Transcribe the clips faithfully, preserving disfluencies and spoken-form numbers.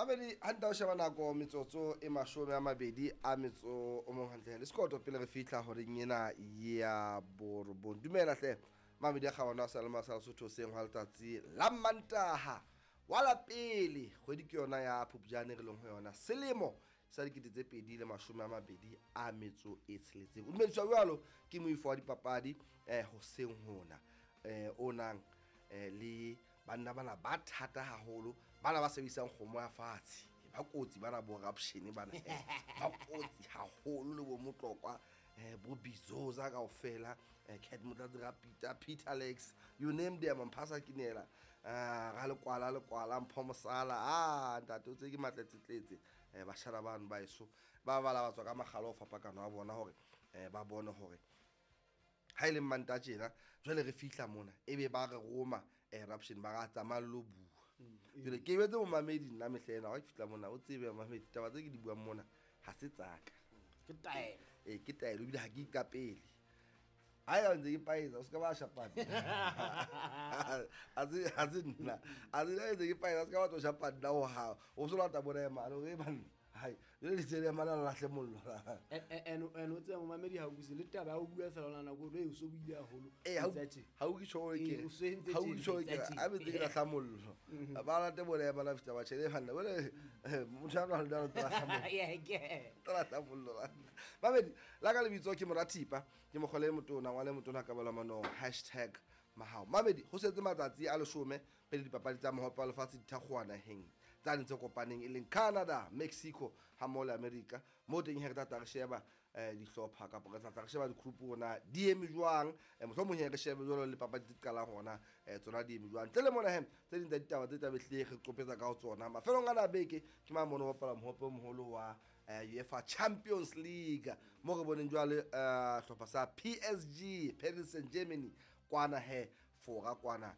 Mamedi hantle o sheba nako metsotso e mashome a mabedi a metso o mong hantle le sekoto pele re fihla horeng ena ya borobong. Dumela hle mamedi a kgabane a sa le masala Sotho seng hwa letsatsi la Mantaha wa la pele kgwedi ke yona ya Phupjane re leng ho yona selemo sa dikete tse pedi le mashome a mabedi a metso e tsheletseng. O dumediswa jwalo ke moifo wa dipapadi eh hoseng hona eh o nang eh le banna bana ba thata haholo bana ba sebedisang kgomo ya fatshe ba kotsi bana bo corruption bana ba kotsi haholo le bo Motlokwa eh bo Bizoza kaofela eh Cat Motlatsi Peter Peter Alex you name them Mphasa Kinela ah ga le kwala le kwala Mpho Mosala ah ntate o tse ke matletsetletse eh bashana bano ba eso ba bala ba tswa ka magalo o fapakano a bona hore eh ba bone hore ha ile Manta tjena jwale re fihla mona ebe ba re roma eruption ba ra tsamaya lo bua jwale ke betse momamedi nna mehla ena ha ke fihla mona o tsebe mamedi taba tse ke di buang mona ha se tsaka ke taelo eh ke taelo ebile ha ke ikapele ha ya ntse ke paetsa o ska ba shapana a se ha se nna a se ntse ke paetsa o ska ba tlo shapana ho ha o so lata bona ema re banna hai jwale ditsele mana la lahle mollo en en o tseba momamedi ha o buse le taba ya ho bua fela ona nako e o so buile haholo eh ha o ke tjho ke ha o tjho ke a be ke lahla mollo ba late bona ema la fihla ba tjhele banna bole motho a nwa le tla lahla mollo yeah ke tla lahla mollo mamedi la ka lebitso ke Morathipa ke mogole motona ngwane motona ka bala mano hashtag mahao mamedi ho setse matsatsi a leshome pele dipapadi tsa mohope wa lefatshe di thakgowa naheng tsa ntse kopaneng e leng Canada, Mexico ha mmoho le America mo teng he re tla re sheba eh dihlopha kapa re tla re sheba di-group rona di eme jwang mohlomong he re shebe jwalo le papadi tse qalang hona eh tsona di eme jwang ntle le mona he tse ding tsa ditaba tse tla be hle re qopetsa ka ho tsona mafelong a na beke ke ma mono bapala mohope o moholo wa UEFA Champions League mo re boneng jwale hlopha sa P S G Paris Saint-Germain kwana he fora kwana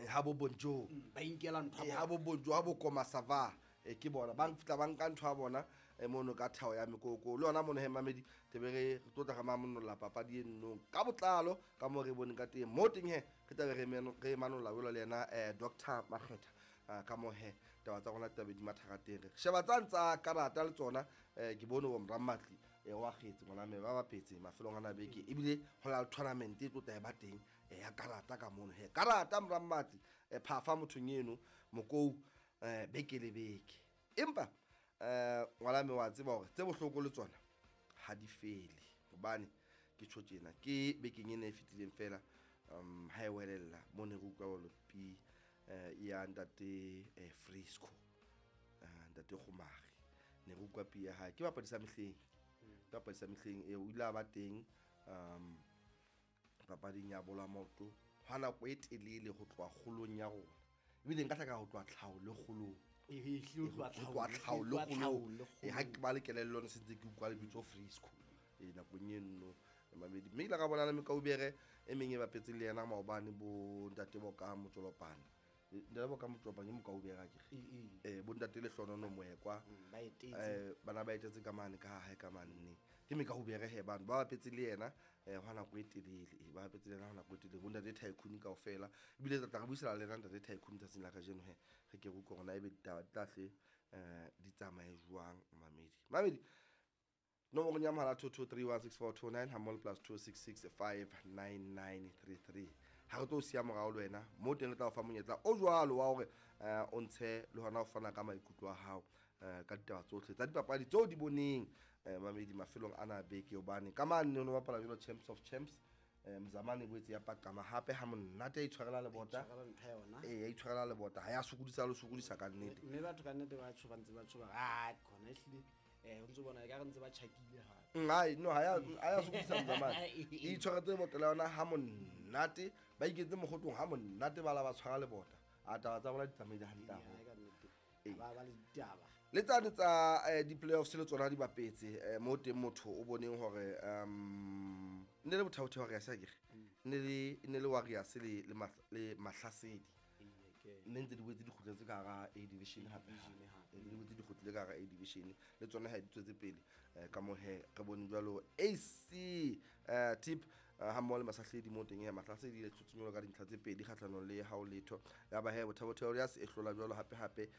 ha bo bonjo ba inkela ntho ha bo bonjo ha bo koma sava e ke bona ba fitla ba nka ntho ya bona e mono ka thao ya mekoko le yona mono he mamedi tebe re tlotla ga mamonolla papadi e nnong ka botlalo ka mo re boneng ka teng mo teng he re tlabe re re manolla jwalo le yena eh Doctor Makgetha ka mo he taba tsa rona taba di mathaka teng re sheba tsa ntsa karata le tsona ke bone bo Mrammatli e wa kgetse ngwana me ba bapetse mafelong ana beke ebile ho la tournament e tlotla e ba teng ya karata ka mono he karata Mrammatli e phafa mothong eno mokou eh beke le beke empa eh ngwana me wa tseba hore tse bohloko le tsona ha di fele hobane ke tjho tjena ke bekeng ena e fetileng fela um ha e welella mo ne re utlwa bolo pi ya ntate Frisco ntate Kgomari ne re utlwa pi ya hae ke bapadi sa mehleng ke bapadi sa mehleng e o ile a ba teng um papading ya bola maoto hwa nako e telele ho tloha kgolong ya rona ebile nka hlaka ho tloha tlhaho le kgolong e ho tloha tlhaho le kgolong e ha ke ba le kelello ne sentse ke utlwa lebitso Frisco e nakong eno mamedi mme ile ka bona le mekaubere e meng e bapetse le yena maobane bo ntate Boka Motsolopane ntate Boka Motsolopane ke mokaubere akere eh bo ntate Lehlonono Moekwa ba etetse eh bana ba etetse ka mane ka hae ka manne ke mekaubere he bana ba bapetse le yena eh hwa nako e telele e ba bapetse le yena hwa nako e telele bo ntate Tycoon kaofela ebile tla re buisana le yena ntate Tycoon tsatsing la kajeno he re ke re utlwe hore na ebe ditaba di tla hle eh di tsamaye jwang mamedi mamedi nomoro ya mohala two two three one six four two nine hammoho plus two six six five nine nine three three ha re tlo siya morao le wena mo teng re tla o fa monyetla o jwalo wa hore o ntshe le hona ho fana ka maikutlo a hao ka ditaba tsohle tsa dipapadi tseo di boneng mamedi mafelong ana beke hobane ka mane no bapala jwalo Champs of Champs Mzamane boetse ya paqama hape ha monate ya itshwarela lebota eh ya itshwarela lebota ha ya sokodisa le sokodisa ka nnete mme batho ka nnete ba tsho ba ntse ba tsho ba ah khona ehlile eh o ntse bona ka re ntse ba tjhakile hape hai no ha ya ha ya sokodisa Mzamane e itshwaretse lebota la yona ha monate ba iketse mogotong ha monate ba la ba tshwara lebota a taba tsa bona di tsamaile hantle haholo ba ba le ditaba le tsane tsa di-playoffs le tsona di bapetse mo teng motho o boneng hore um ne le bothaotheo Warriors akere ne le ne le Warriors le le Mahlasedi nne ntse di boetse di kgutletse ka hara A division hape di boetse di kgutlile ka hara A division le tsona ha di tswetse pele ka mo he re bone jwalo A C tip ha mmoho le Masahledi mo teng ya Mahlasedi le tshotsonyolo ka dintlha tse pedi kgahlanong le hao letho ya ba he Bothabotheo Warriors e hlola jwalo hape hape